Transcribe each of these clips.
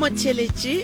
Motheeletši,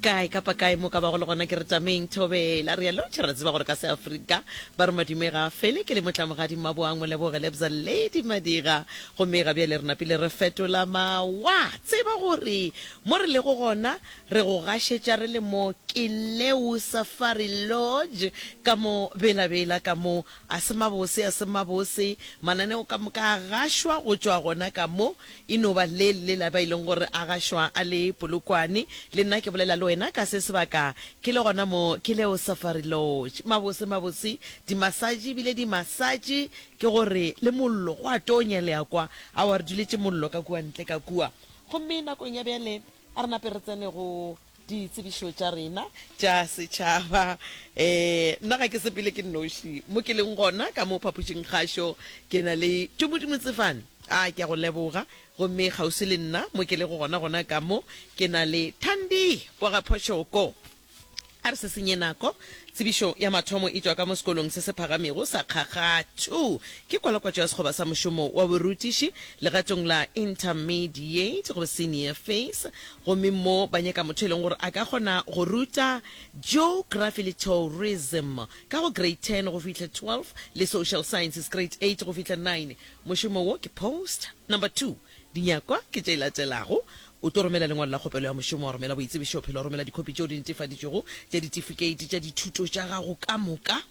kae kapa kae mo ka bago le gona ke re tameng thobela re a lotšha re tseba gore ka seafrika ba re madume ga a fele ke le motlamogadi mmaboang moleboge lebza lady madiga gomme ga bjale re napile re fetola mawa tseba gore mo re lego gona re go gašetša re le mo Keleu Safari Lodge ka mo Bela-Bela ka mo a se mabose a se mabose mananeo ka moka a gašwa go tšwa gona ka mo E no ba le le lela ba e leng gore a gašwa a le Polokwane. Le nna ke bolela le wena ka se sebaka ke le gona mo ke leo Safari Lodge. Mabose, mabose, dimasatše ebile dimasatše ke gore le mollo go a tonya le a kwa. Aowa re duletše mollo ka kua ntle ka kua. Gomme nakong ya bjale a re nape re tsene go Ditsebišo tša rena tša setšhaba. Um nna ga ke sepele ke nnoši. Mo ke leng gona ka mo phapošing kgašo ke na le Tumudi Motsefane. A ke a go leboga. Gomme kgauswi le nna mo ke lego gona gona ka mo ke na le Thandi wa ga Phošoko. A re se senye nako. Tsebišo ya mathomo e tšwa ka mo sekolong se se phagamego sa Kgakgathu. Ke kwalakwatšo ya sekgoba sa mošomo wa borutiši legatong la Intermediate goba Senior Phase. Gomme mo ba nyaka motho e leng gore a ka kgona go ruta Geography le Tourism ka go Grade 10 go fihla 12 le Social Sciences Grade 8 go fihla 9. Mošomo wo ke Post Number 2. Dinyakwa ke tše latelago, O tlo romela lengwalo la kgopelo ya mošomo, wa romela boitsebišophelo, wa romela dikhopi tšeo di netefaditšwego tša ditifikeiti tša dithuto tša gago ka moka,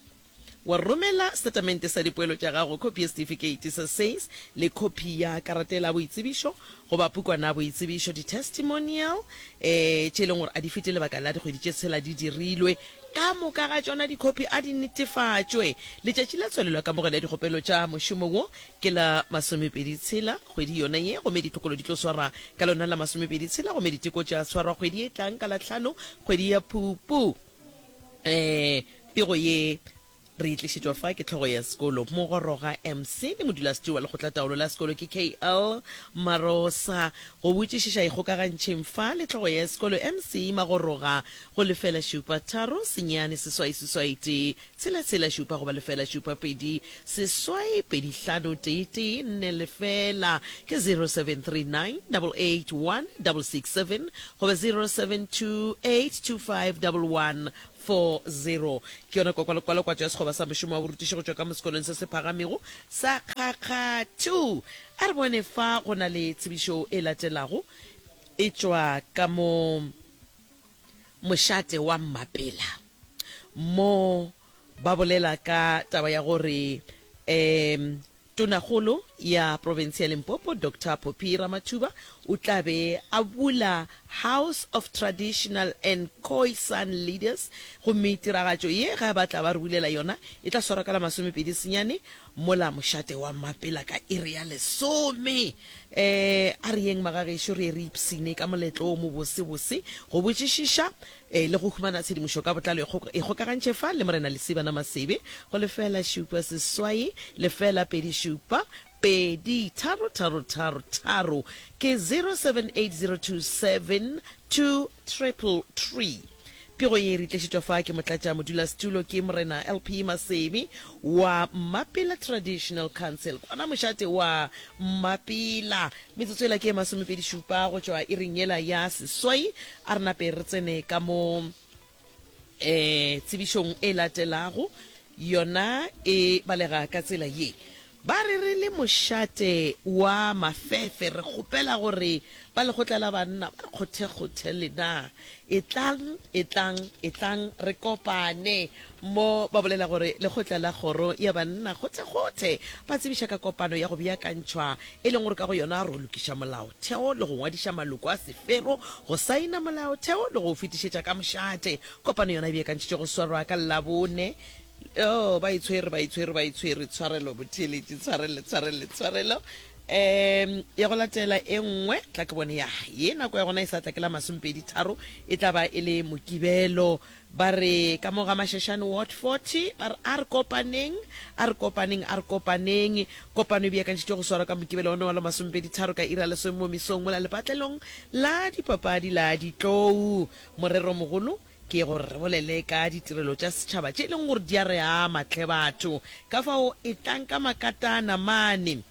wa romela setatamente sa dipoelo tša gago, khopi ya setifikeiti sa SACE le khopi ya karata ya boitsebišo goba pukwana ya boitsebišo, di-testimonial, um tše e leng gore a di fete lebaka la dikgwedi tše tshela di dirilwe. Ka moka ga tšona dikhopi a di netefatšwe. Letšatši la tswalelo ya kamogelo ya dikgopelo tša mošomo wo ke la masomepedi tshela kgwedi yona ye, gomme ditlhokolo di tlo swarwa ka lona la masomepedi tshela, gomme diteko tša swarwa kgwedi ye tlang ka la hlano kgwedi ya Phupu. Um pego ye re e tlišetšwa fa ke hlogo ya sekolo Mogoroga MC le modulasetiri wa lekgotlataolo la sekolo ke KL Marosa. Go botšišiša ikgokagantšheng fa le hlogo ya sekolo MC Magoroga go lefela šupa tharo senyane seswai seswai tee tshela tshela šupa goba lefela šupa 2 seswai 2 5 tee tee nne lefela ke 0739 881 667 goba 0728 25 11 40. Ke yona kwalakwatšo ya sekgoba sa mošomo wa borutiši go tšwa ka mo sekolong se se phagamego sa Kgakgathu. A re bone fa go na le tsebišo e latelago e tšwa ka mo mošate wa Mmapela. Mo ba bolela ka taba ya gore um Tonakgolo ya profense ya Limpopo Doctor Phophi Ramathuba o tla be a bula House of Traditional and Khoisan Leaders gomme tiragatšo ye ge ba tla ba re bulela yona e tla swarwa ka la masomepedi senyane mola mošate wa Mmapela ka iri ya lesome. Um a re yeng magagešo re ye re ipshine ka moletlo wo mobosebose go botšišiša E le go humana tshedimošo ka botlalo ikgokagantšhe fa le Morena Lesibana Masebe go lefela šupa seswai lefela pedi šupa pedi tharo tharo tharo tharo ke 078027 2333. Pego ye e re tlišetšwa fa ke motlatša modulasetulo ke Morena LP Masebe wa Mmapela Traditional Council kwana mošate wa Mmapela. Metsotso yela ke e masomepedi šupa go tšwa iring yela ya seswai. A re nape re tsene ka mo um tsebišong e latelago. Yona e balega ka tsela ye. Ba re re le mošate wa Mafefe re kgopela gore ba lekgotla la banna ba kgothekgothe lena. Etlang, etlang, etlang re kopane. Mo ba bolela gore lekgotla la kgoro ya banna kgothekgothe ba tsebiša ka kopano ya go beakantšhwa e leng gore ka go yona ro lokiša molaotheo le go ngwadiša maloko a sefero go saena molaotheo le go o fetišetša ka mošate. Kopano yona e beakantšhitšwe go swarwa ka Labone. Oh, ba itshwere, ba itshwere, ba itshwere. Tshwarelo, botheeletši, tshwarelo, tshwarelo, tshwarelo. Um ya go latela e nngwe tla ke bone ya ye nako ya gona e sa tla ke la masomepedi tharo e tla ba e le mokibelo ba re ka mo ga Mashashane Ward 40 ba re a re kopaneng a re kopaneng a re kopaneng kopano e beakantšhitšwe go swarwa ka mokibelo one wa la masomepedi tharo ka iri ya lesome mo mesong mola lepatlelong la dipapadi la Ditlou moreromogolo Ke gore re bolele ka ditirelo tša setšhaba tše e leng gore di a re ama hle batho. Ka fao etlang ka makatana mane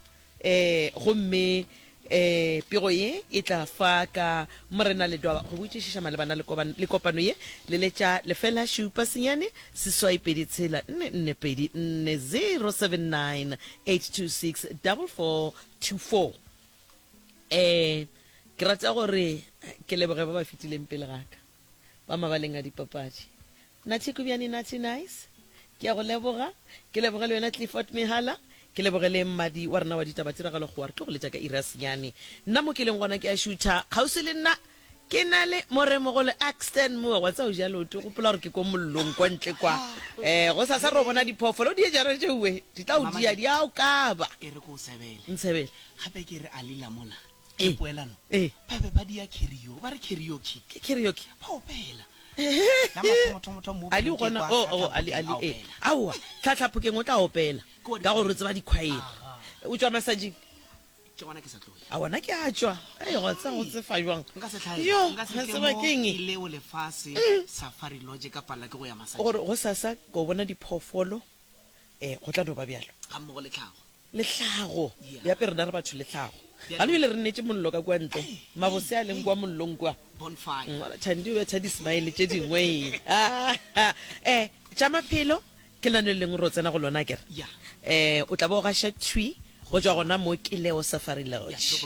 um gomme Um pego ye e tla fa ka Morena Ledwaba go botšišiša malebana le le kopano ye. Leletša lefela šupa senyane seswai pedi tshela nne nne pedi nne 079 826 4424. Um ke rata gore ke leboge ba ba fetileng pele ga ka ba mabaleng a dipapadi. Nathi Kubyane Nathi Nice, ke a go leboga. Ke leboge le wena Clifford Mehala. Ke leboge le mmadi wa rena wa ditaba tiragalo Kgowa. Re tlo go letša ka iri ya senyane. Nna mo ke leng gona ke a šutha. Kgauswi le nna ke na le moremogolo Axton Moa. Wa tseba o ja leoto, gopola gore ke ko mollong kwa ntle kwa. Um gosasa re o bona diphoofolo di ejara tšeue di tla o dia, di a o kaba. E re ko o sebele. Ntshebele. Gape ke re a lila mola. Ke poelano. Ba be ba dia karaoke, ba re karaoke. Ke karaoke. Ba opela. Ali o gona o o Ali Ali e aowa tlhatlhaphokeng o tla opela ka gore o tseba dikhwaere o tšwa masajing ke gona ke sa tloya a wona ke a tšwa ei go tsa go tsefa jwang nka se tlhaela yo nka se ga tle tseba mo ke eng leo lefase safari lodge ka palela ke go ya masajing gore go sasa ko bona diphoofolo um go tla no ba bjalo ga mmogo le tlhago Le hlago. Bjape rena re batho le hlago. Gane bjale re neetše mollo ka kua ntle. Mabose a leng kua mollong kua. Bonfire. Thandi o betha di-smile tše dingwe. Eh, tša maphelo ke lenaneo le lengwe re o tsena go lona akere? Eh, o tla ba o gaša thwi go tšwa gona mo Kileo Safari Lodge.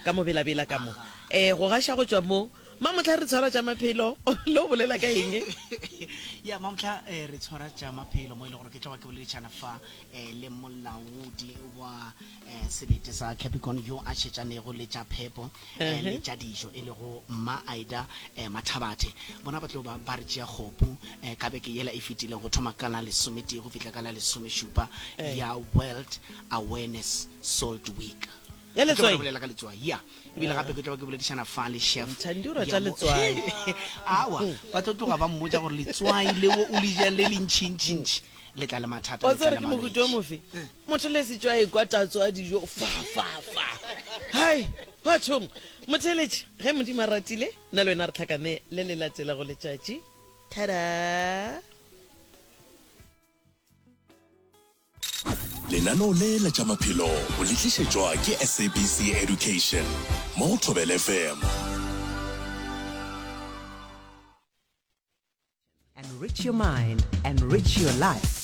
Ka mo Bela-Bela ka mo. Eh, go gaša go tšwa mo. Mamohla re tshwara tša maphelo. Le o bolela ka eng? Ya, mamohla re tshwara tša maphelo mo e le gore ke tla ba ke boledišana fa le molaodi wa selete sa Capricorn yo a šetšanego le tša phepo le tša dijo e lego Mma Aida Mathabathe. Bona ba tlo ba ba re tšea kgopu ka beke yela e fetileng go thoma ka la lesometee go fihla ka la lesomešupa ya World Awareness Salt Week. Ya letswai? Bolela ka letswai, ya. Ebile gape ke tlo ba ke boledišana fa le chef. Thandi o rata letswai. Awa, ba tlo tloga ba mmotša gore letswai leo o le jang le le ntšhintšhintšhi le tla le mathata, Wa le tla tseba le gore ke mohuta o malwetši. mofe? Motho le setšo a ekwa tatso a dijo fa fa fa. Hai, bathong. Motheeletši, ge Modimo a ratile, nna le wena re hlakane le le latelago letšatši. Thada! Lenaneo le la tša maphelo o le tlišetšwa ke SABC Education mo go Thobela FM. Enrich your mind, enrich your life.